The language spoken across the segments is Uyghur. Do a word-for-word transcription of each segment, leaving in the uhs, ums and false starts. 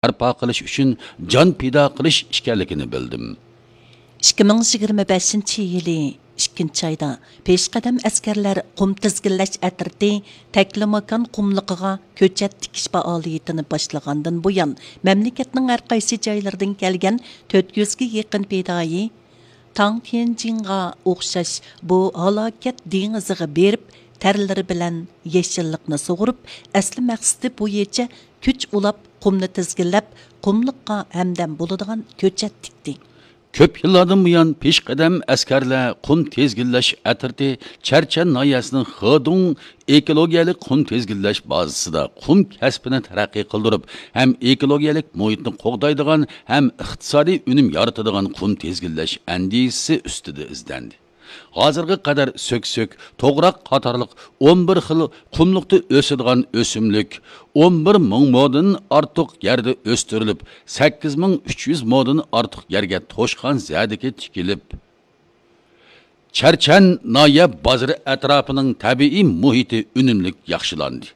بەرپا قىلىش ئۈچۈن جان پىدا قىلىش ئىكەنلىكىنى بىلدىم. ئىككى مىڭ يىگىرمە بەشىنچى يىلى ئىككىنچى ئايدا پېشقەدەم ئەسكەرلەر قۇم تىزگىنلەش ئەترىتى تەكلىماكان قۇملۇقىغا كۆچەت تىكىش پائالىيىتىنى باشلىغاندىن بۇيان، مەملىكەتنىڭ ھەر قايسى جايلىرىدىن كەلگەن تۆت يۈزگە يېقىن پىدائىي تاڭ تيەنجىڭغا ئوخشاش بۇ ھالاكەت دېڭىزىغا بېرىپ، تەرلىرى بىلەن يېشىللىقنى سۇغۇرۇپ، ئەسلى مەقسىتى بويىچە كۈچ ئۇلاپ، قۇمنى تىزگىنلەپ، قۇملۇققا ھەمدەم بولىدىغان كۆچەت تىكتى. كۆپ يىللاردىن بۇيان پېشقەدەم ئەسكەرلەر قۇم تىزگىنلەش ئەترىتى چەرچەن ناھىيەسىنىڭ خېدۇڭ ئېكولوگىيەلىك قۇم تىزگىنلەش بازىسىدا قۇم كەسپىنى تەرەققىي قىلدۇرۇپ، ھەم ئېكولوگىيەلىك مۇھىتنى قوغدايدىغان، ھەم ئىقتىسادىي ئۈنۈم يارىتىدىغان قۇم تىزگىنلەش ئەندىزىسى ئۈستىدە ئىزدەندى. ھازىرغا قەدەر سۆكسۆك، توغراق قاتارلىق ئون بىر خىل قۇملۇقتا ئۆسىدىغان ئۆسۈملۈك ئون بىر مىڭ مودىن ئارتۇق يەردە ئۆستۈرۈلۈپ، سەككىز مىڭ ئۈچ يۈز مودىن ئارتۇق يەرگە توشقان زەدىكى تىكىلىپ، چەرچەن ناھىيە بازىرى ئەتراپىنىڭ تەبىئىي مۇھىتى ئۈنۈملۈك ياخشىلاندى.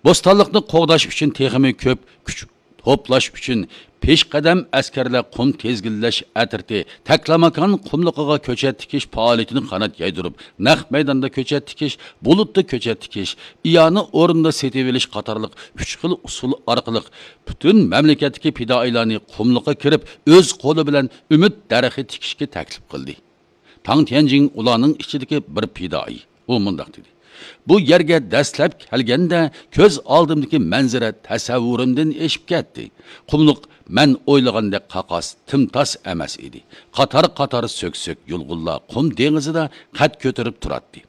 بوستانلىقنى قوغداش ئۈچۈن تېخىمۇ كۆپ كۈچ توپلاش ئۈچۈن پېشقەدەم ئەسكەرلەر قۇم تىزگىنلەش ئەترىتى تەكلىماكان قۇملۇقىغا كۆچەت تىكىش پائالىيىتىنى قانات يايدۇرۇپ، نەق مەيداندا كۆچەت تىكىش، بۇلۇتتا كۆچەت تىكىش، ئىئانە ئورنىدا سېتىۋېلىش قاتارلىق ئۈچ خىل ئۇسۇل ئارقىلىق پۈتۈن مەملىكەتتىكى پىدائىيلارنى قۇملۇققا كىرىپ، ئۆز قولى بىلەن ئۈمىد دەرىخى تىكىشكە تەكلىپ قىلدى. تاڭ تيەنجىڭ ئۇلارنىڭ ئىچىدىكى بىر پىدائىي. ئۇ مۇنداق دېدى: «بۇ يەرگە دەسلەپ كەلگەندە، كۆز ئالدىمدىكى مەنزىرە تەسەۋۋۇرۇمدىن ئېشىپ كەتتى. قۇملۇق مەن ئويلىغاندەك قاقاس، تىمتاس ئەمەس ئىدى. قاتار-قاتار سۆكسۆك يۇلغۇنلار قۇم دېڭىزىدا قەد كۆتۈرۈپ تۇراتتى.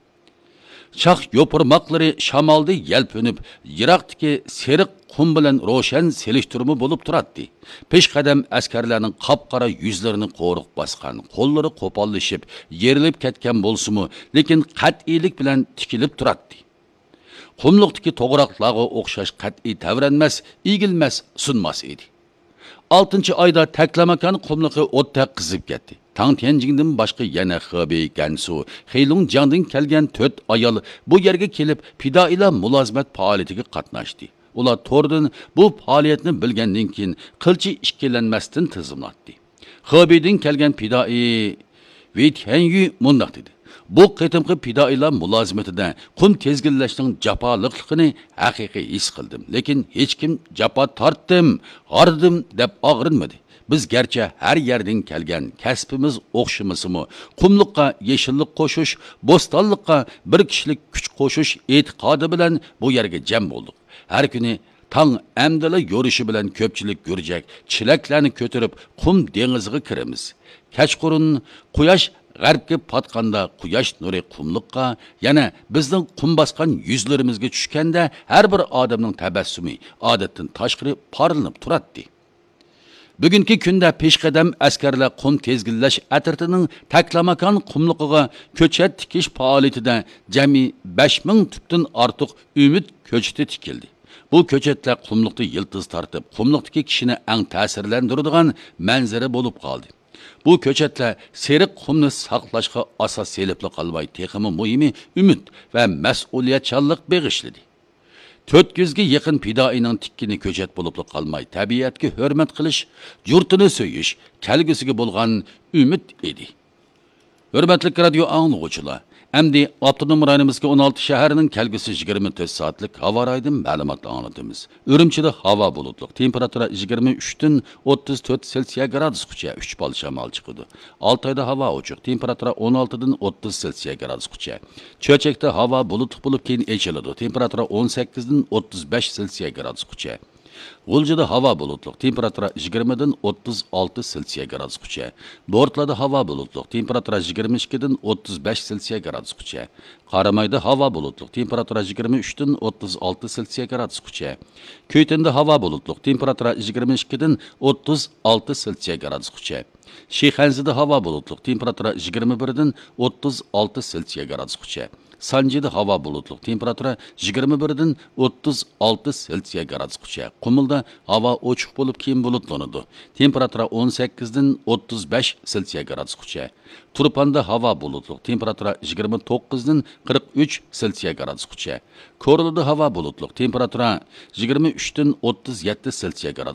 شاخ يوپۇرماقلىرى شامالدا يەلپۈنۈپ، يىراقتىكى سېرىق قۇم بىلەن روشەن سېلىشتۇرما بولۇپ تۇراتتى. پېشقەدەم ئەسكەرلەرنىڭ قاپقارا يۈزلىرىنى قورۇق باسقان، قوللىرى قوپاللىشىپ، يېرىلىپ كەتكەن بولسىمۇ، لېكىن قەتئىيلىك بىلەن تىكىلىپ تۇراتتى. قۇملۇقتىكى توغراقلارغا ئوخشاش قەتئىي تەۋرەنمەس، ئېگىلمەس، سۇنماس ئىدى.» ئالتىنچى ئايدا تەكلىماكان قۇملۇقى ئوتتەك قىزىپ كەتتى. تاڭ تيەنجىڭدىن باشقا يەنە خېبېي، گەنسۇ، خېيلۇڭجياڭدىن كەلگەن تۆت ئايال بۇ يەرگە كېلىپ، پىدائىيلار مۇلازىمەت پائالىيىتىگە قاتناشتى. ئۇلار توردىن بۇ پائالىيەتنى بىلگەندىن كېيىن، قىلچە ئىككىلەنمەستىن تىزىملاتتى. خېبېيدىن كەلگەن پىدائىي ۋېي تيەنيۈ مۇنداق دېدى: «بۇ قېتىمقى پىدائىيلار مۇلازىمىتىدە قۇم تىزگىنلەشنىڭ جاپالىقلىقىنى ھەقىقىي ھېس قىلدىم. لېكىن ھېچكىم جاپا تارتتىم، ھاردىم دەپ ئاغرىنمىدى. بىز گەرچە ھەر يەردىن كەلگەن، كەسپىمىز ئوخشىمىسىمۇ، قۇملۇققا يېشىللىق قوشۇش، بوستانلىققا بىر كىشىلىك كۈچ قوشۇش ئېتىقادى بىلەن بۇ يەرگە جەم بولدۇق. ھەر كۈنى تاڭ ئەمدىلا يورۇشى بىلەن كۆپچىلىك گۈرجەك، چېلەكلەرنى كۆتۈرۈپ، قۇم دېڭىزىغا كىرىمىز. كەچقۇرۇن قۇياش غەربكە پاتقاندا، قۇياش نۇرى قۇملۇققا، يەنە بىزنىڭ قۇم باسقان يۈزلىرىمىزگە چۈشكەندە، ھەر بىر ئادەمنىڭ تەبەسسۇمى ئادەتتىن تاشقىرى پارلىنىپ تۇراتتى.» بۈگۈنكى كۈندە پېشقەدەم ئەسكەرلەر قۇم تىزگىنلەش ئەترىتىنىڭ تەكلىماكان قۇملۇقىغا كۆچەت تىكىش پائالىيىتىدە جەمئىي بەش مىڭ تۈپتىن ئارتۇق ئۈمىد كۆچىتى تىكىلدى. بۇ كۆچەتلەر قۇملۇقتا يىلتىز تارتىپ، قۇملۇقتىكى كىشىنى ئەڭ تەسىرلەندۈرىدىغان مەنزىرە بولۇپ قالدى. بۇ كۆچەتلەر سېرىق قۇمنى ساقلاشقا ئاساس سېلىپلا قالماي، تېخىمۇ مۇھىمى، ئۈمىد ۋە مەسئۇلىيەتچانلىق بېغىشلىدى. تۆت يۈزگە يېقىن پىدائىينىڭ تىككىنى كۆچەت بولۇپلا قالماي، تەبىئەتكە ھۆرمەت قىلىش، يۇرتىنى سۆيۈش، كەلگۈسىگە بولغان ئۈمىد ئىدى. ھۆرمەتلىك رادىيو ئاڭلىغۇچىلار، ئەمدى ئاپتونوم رايونىمىزدىكى ئون ئالتە شەھەرنىڭ كەلگۈسى يىگىرمە تۆت سائەتلىك ھاۋا رايىدىن مەلۇمات ئاڭلىتىمىز. ئۈرۈمچىدە ھاۋا بۇلۇتلۇق، تېمپېراتۇرا يىگىرمە ئۈچتىن ئوتتۇز تۆت سېلسىيە گرادۇسقىچە، ئۈچ بال شامال چىقىدۇ. ئالتايدا ھاۋا ئوچۇق، تېمپېراتۇرا ئون ئالتىدىن ئوتتۇز سېلسىيە گرادۇسقىچە. چۆچەكتە ھاۋا بۇلۇتلۇق بولۇپ، كېيىن ئېچىلىدۇ، تېمپېراتۇرا ئون سەككىزدىن ئوتتۇز بەش سېلسىيە گرادۇسقىچە. غۇلجىدا ھاۋا بۇلۇتلۇق، تېمپېراتۇرا يىگىرمىدىن ئوتتۇز ئالتە سېلسىيە گرادۇسقىچە. بورتلادا ھاۋا بۇلۇتلۇق، تېمپېراتۇرا يىگىرمە ئىككىدىن ئوتتۇز بەش سېلسىيە گرادۇسقىچە. قارامايدا ھاۋا بۇلۇتلۇق، تېمپېراتۇرا يىگىرمە ئۈچتىن ئوتتۇز ئالتە سېلسىيە گرادۇسقىچە. كۈيتەندە ھاۋا بۇلۇتلۇق، تېمپېراتۇرا يىگىرمە ئىككىدىن ئوتتۇز ئالتە سېلسىيە گرادۇسقىچە. شىخەنزىدە ھاۋا بۇلۇتلۇق، تېمپېراتۇرا يىگىرمە بىردىن ئوتتۇز ئالتە سېلسىيە گرادۇسقىچە. سانجىدا ھاۋا بۇلۇتلۇق، تېمپېراتۇرا يىگىرمە بىردىن ئوتتۇز ئالتە سېلسىيە گرادۇسقىچە. قۇمۇلدا ھاۋا ئوچۇق بولۇپ، كېيىن بۇلۇتلىنىدۇ. تېمپېراتۇرا ئون سەككىزدىن ئوتتۇز بەش سېلسىيە گرادۇسقىچە. تۇرپاندا ھاۋا بۇلۇتلۇق، تېمپېراتۇرا يىگىرمە توققۇزدىن قىرىق ئۈچ سېلسىيە گرادۇسقىچە. كورلىدا ھاۋا بۇلۇتلۇق، تېمپېراتۇرا يىگىرمە ئۈچتىن ئوتتۇز يەتتە سېلسىيە گرادۇس